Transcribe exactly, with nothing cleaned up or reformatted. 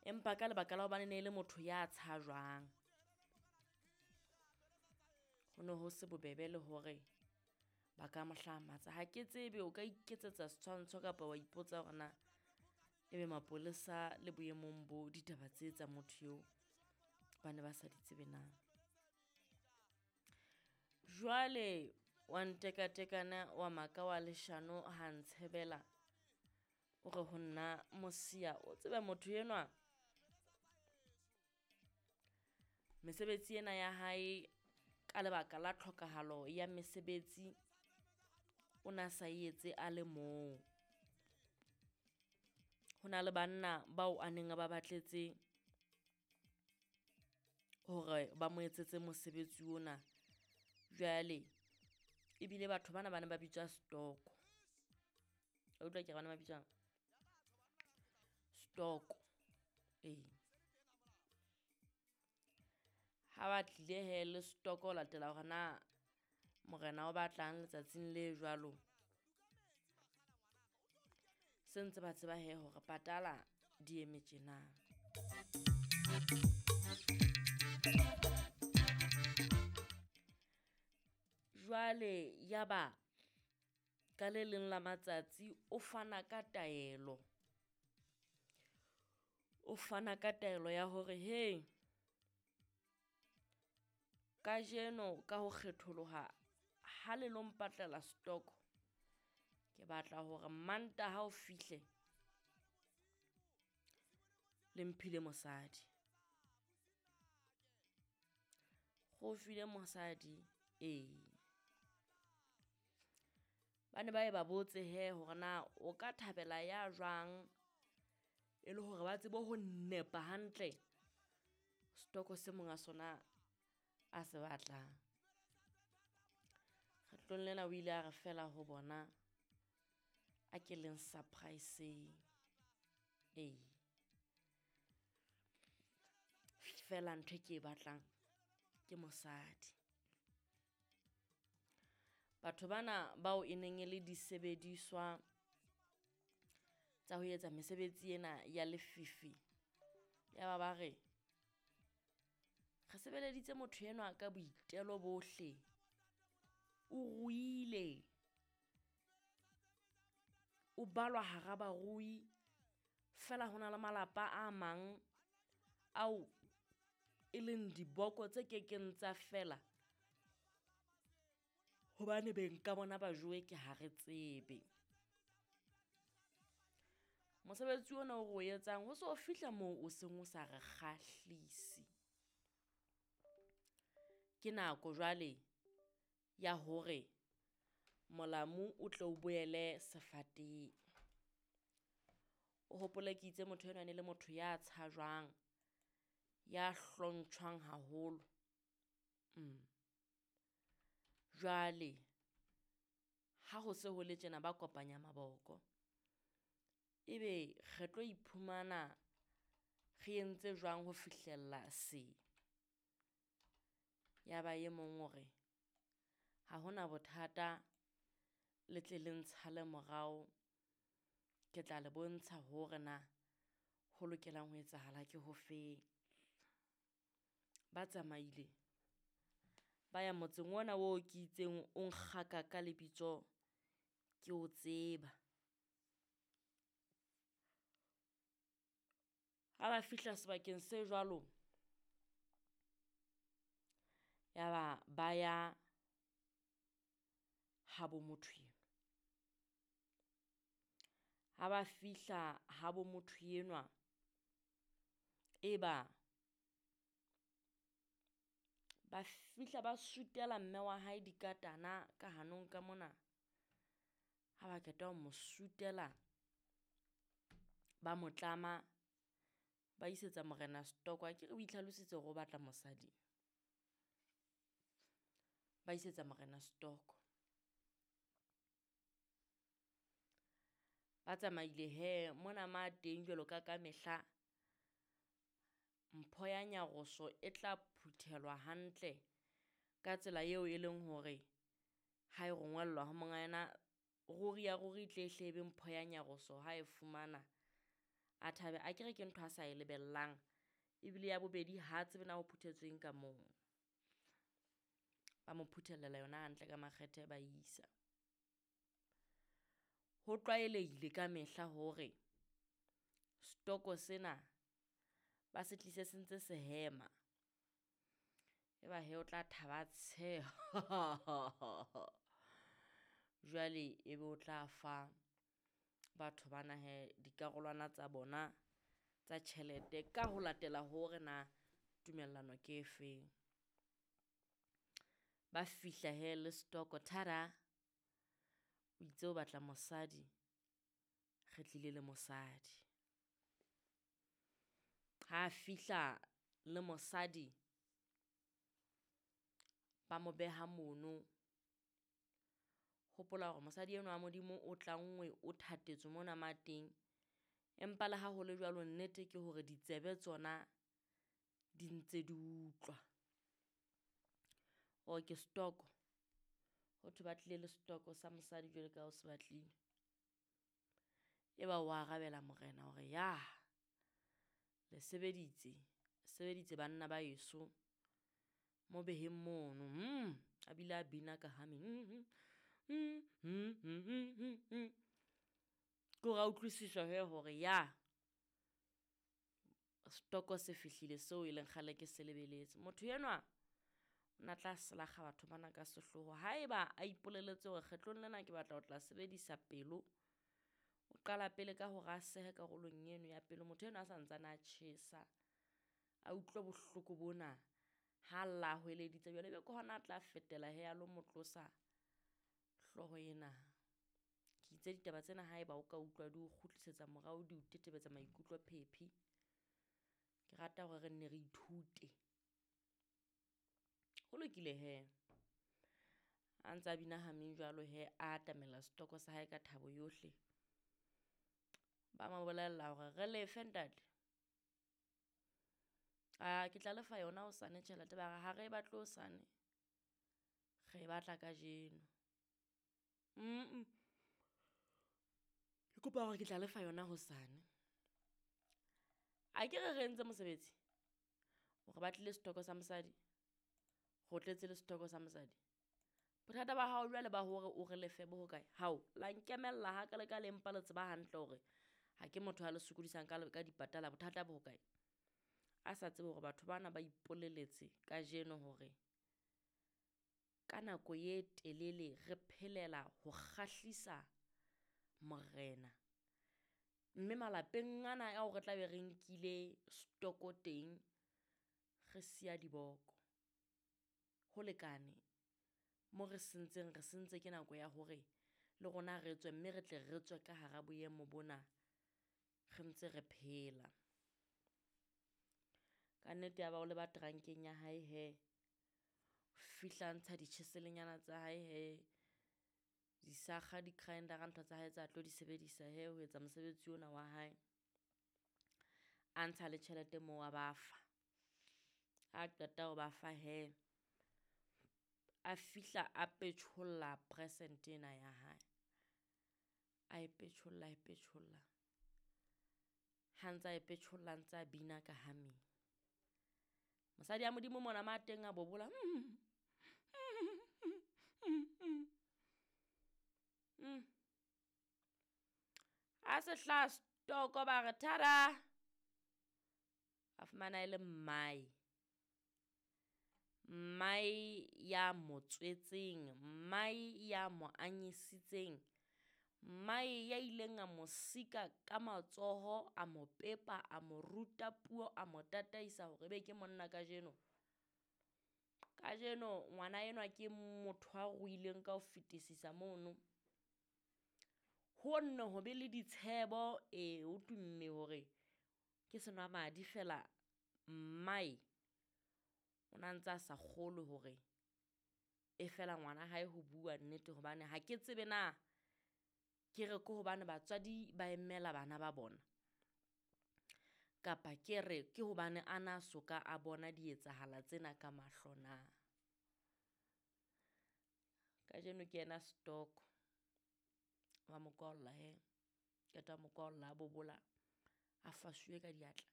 Empa ka lebaka la hobane ne e le motho ya tshajwang, ho ne ho se bobebe le hore ba ka mo hlamatsa. Ha ke tsebe o ka iketsetsa setshwantsho kapa wa ipotsa hore na ebe mapolesa le boemong bo ditaba tse tsa motho eo ba ne ba sa di tsebe na. Jwale wa ntekatekana wa maka wa leshano ha ntshebela, o re ho nna Mosia o tsebe motho enwa mesebetsi ena ya hae ka lebaka la tlhokahalo ya mesebetsi, o na sa etse a le mong. Ho na le banna bao a neng a ba batletse hore ba mo etsetse mosebetsi ona. Jwale ebile batho bana ba ne ba bitswa setoko. Wa utlwa ke re bana ba bitswang setoko, ee. Ha ba tlile hee le setoko ho latela hore na morena o batlang letsatsing le jwalo. Se ntse ba tseba hee hore patala di eme tjena. Jwale ya ba ka le leng la matsatsi o fana ka taelo, o fana ka taelo ya hore hei kajeno ka ho kgetholoha ha le lo mpatlela setoko, ke batla hore Mantaha o fihle le mphile mosadi. Re o file mosadi, ee. Ba ne ba ye ba botse hee hore na o ka thabela ya jwang, e le hore ba tsebe ho nepa hantle setoko se monga sona a se batlang. Kgetlong lena o ile a re feela ho bona, a ke leng surprise-eng, ee. Feela ntho e ke e batlang ke mosadi. Batho bana bao e neng e le disebediswa tsa ho etsa mesebetsi ena ya lefifi, ya ba ba re re sebeleditse motho enwa ka boitelo bohle, o ruile, o balwa hara barui, feela ho na le malapa a mang ao e leng diboko tse kekeng tsa fela hobane beng ka bona ba jowe ke ha re tsebe. Mosebetsi ona o re o etsang ho so fihla moo o seng o sa re kgahlise. Ke nako jwale ya hore molamu o tle o boele sefateng. O hopole ke itse motho enwa e ne le motho ya tshajwang, ya hlontjhwang haholo. Mm. Jwale ha ho se ho le tjena ba kopanya maboko, ebe re tlo iphumana re entse jwang ho fihlella se? Ya ba e mong o re ha hona bothata, le tle le ntshale morao, ke tla le bontsha hore na ho lokelang ho etsahala ke hofeng. Ba tsamaile ba ya motseng ona oo ke itseng o nkgaka ka lebitso ke o tseba. Ha ba fihla sebakeng se jwalo, ya ba ba ya habo motho enwa. Ha ba fihla habo motho enwa, e ba ba fihla ba sutela mme wa hae dikatana ka hanong ka mona. Ha ba qeta ho mo sutela, ba mo tlama, ba isetsa morena setoko. Akere o itlhalositse hore o batla mosadi. Ba isetsa morena setoko. Ba tsamaile hee mona ma teng jwalo ka ka mehla, mpho ya nyaroso e tla phuthelwa hantle ka tsela eo e leng hore ha e rongwellwa ho monga yona, ruri ya ruri e tle hle e be mpho ya nyaroso ha e fumana. A thabe a kere ke ntho a sa e lebellang. Ebile ya bobedi ha tsebe na ho phuthetsweng ka moo. Ba mo phuthellela yona hantle ka makgethe ba isa. Ho tlwaelehile ka mehla hore setoko sena ba se tlise se ntse se hema. Eba he o tla thaba a tsheha. Jwale ebe o tla fa batho bana he dikarolwana tsa bona tsa tjhelete ka ho latela hore na tumellano ke efeng. Ba fihla he le setoko, thada! O itse o batla mosadi, re tlile le mosadi. Ha fihla le mosadi, ba mo beha mono. Hopola hore mosadi enwa wa Modimo o tlanngwe, o thatetswe mona ma teng. Empa le ha ho le jwalo, nnete ke hore ditsebe tsona di ntse di utlwa. O ke setoko, ho thwe ba tlile le setoko sa mosadi jwalo ka ha o se batlile. Eba o arabela morena hore yah, le sebeditse, sebeditse banna ba heso. Mo beheng mono, hmm, a bile a bina ka humming. Ke hore a utlwisiswa he hore ya setoko se fihlile seo e leng kgale ke se lebeletse. Motho enwa o na tla selakga batho bana ka sehloho. Haeba a ipolelletse hore kgetlong lena ke batla ho tla sebedisa pelo, o qala pele ka hore a sehe karolong eno ya pelo. Motho enwa a santsane a tjhesa, a utlwe bohloko bona ha lla a hweleditse. Jwale ebe ke hona a tla fetela he a lo mo tlosa hlooho ena. Ke itse ditaba tsena haeba o ka utlwa di o kgutlisetsa morao, di o tetebetsa maikutlo phephi. Ke rata hore re nne re ithute. Ho lokile he. A ntse a bina hameng jwalo he, a atamela setoko sa hae ka thabo yohle. Ba mo bolella hore re lefe ntate. A ke tla lefa yona hosane tjhelete. Ba re ha re e batle hosane, re e batla kajeno. Mm-mm. Ke kopa hore ke tla lefa yona hosane. A ke re re entse mosebetsi? Hore ba tlile setoko sa mosadi, re o tletse le setoko sa mosadi. Bothata ba hao jwale ba hore o re lefe bo hokae? Hao, la nkemella ha ka le ka le mpa le tseba hantle hore ha ke motho a le sokodisang ka ka dipatala. Bothata bo hokae? A sa tsebe hore batho bana ba ipoleletse kajeno hore ka nako e telele re phelela ho kgahlisa morena. Mme malapeng ana ao re tla be re nkile setoko teng, re siya diboko. Ho lekane mo re sentseng, re sentse ke nako ya hore le rona re tswe, mme re tle re tswe ka hara boemo bona re ntse re phela. Ka nnete ya ba o leba terankeng ya hae he, fihla ntsha ditjheselenyana tsa hae he, disakga, di-grinder-a, ntho tsa hae tsa tlo di sebedisa he ho etsa mosebetsi ona wa hae. A ntsha le tjhelete moo a ba fa. Ha qeta ho ba fa he, a fihla a petjholla present ena ya hae. A e petjholla, a e petjholla. Ha ntsa e petjholla, ntsa bina ka humming. Mosadi ya Modimo mona ma teng a bobola. Mm. A se hlaha setoko ba re thada! A fumana e le mmae. Mmae ya mo tswetseng, mmae ya mo anyisitseng, mmae ya ileng a mo sika ka matsoho, a mo pepa, a mo ruta puo, a mo tataisa hore ebe ke monna kajeno. Kajeno ngwana enwa ke motho a ruileng ka ho fetisisa mono. Ho nne ho be le ditshebo, ee, ho tumme hore ke senwamadi feela mmae o na ntse a sa kgolwe hore e fela ngwana hae ho bua nnete, hobane ha ke tsebe na ke re ke hobane batswadi ba emela bana ba bona, kapa ke re ke hobane a na soka a bona dietsahala tsena ka mahlo na. Kajeno ke yena setoko. Wa mo kwaolla he, qeta ho mo kwaolla a bobola, A fasuwe ka diatla.